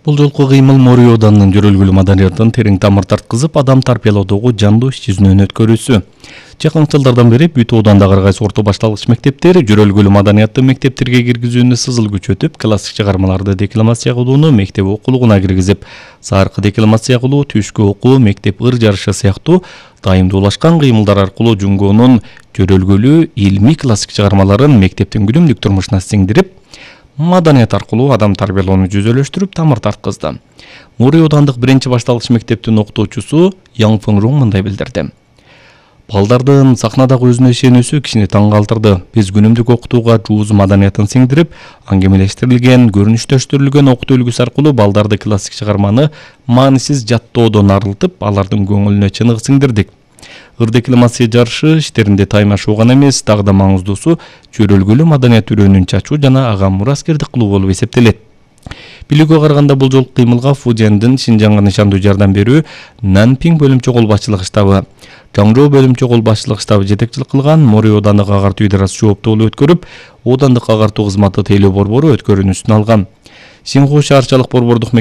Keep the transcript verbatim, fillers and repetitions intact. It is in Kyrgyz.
Бул жолку кыймыл Морий Оданынын жөрөлгүлүү маданиятын терең тамыр тарткызып, адам тарбиялоодогу жандуу иш жүзүнөн өткөрүүсү. Жакын жылдардан бери бүт Одандагы ар кайсы орто башталгыч мектептер жөрөлгүлүү маданиятты мектептерге киргизүүнү сызыл күчөтүп, классик чыгармаларды декламация кылууну мектеп окулугуна киргизип, саркы декламация кылуу, түшкү окуу, мектеп ыр жарышы сыяктуу дайымдуулашкан кыймылдар аркылуу Жунгонун жөрөлгүлүү илмий классик чыгармаларын мектептин күнүмдүк турмушуна сиңдирип, маданият аркылуу адам тарбиялоону жүзөлөштүрүп, тамыр тарткызды. Морий Одандык биринчи башталгыч мектептин окутуучусу Яң Фыңрун мындай билдирди. Балдардын сахнадагы өзүнө ишенүүсү кишини таң калтырды. Биз күнүмдүк окутууга жуuz маданиятын сиңдирип, аңгемелештирилген, көрүнүштөштүрүлгөн окутуу үлгүсү аркылуу балдарды классик чыгарманы маанисиз жаттоодон арылтып, алардын көңүлүнө чыныгы сиңдирдик. Ыр декламация жарышы иштеринде таймашуу гана эмес, дагы да маңыздуусу жөрөлгүлүү маданият үрөөнүн чачуу жана ага мураскердик кылуу болуп эсептелет. Билүүгө караганда бул жолку кыймылга Фудзяндын Шинжаңга нышандуу жардам берүү Нанпиң бөлүмчө кол башчылык штабы, Жаңжоо бөлүмчө кол башчылык штабы жетекчилик кылган. Морий Оодандык агартуу идарасы жооптуулук өткөрүп, Оодандык агартуу кызматы тейлөө борбору өткөрүүнү үстүнө алган. Синху шаарчалык борбордук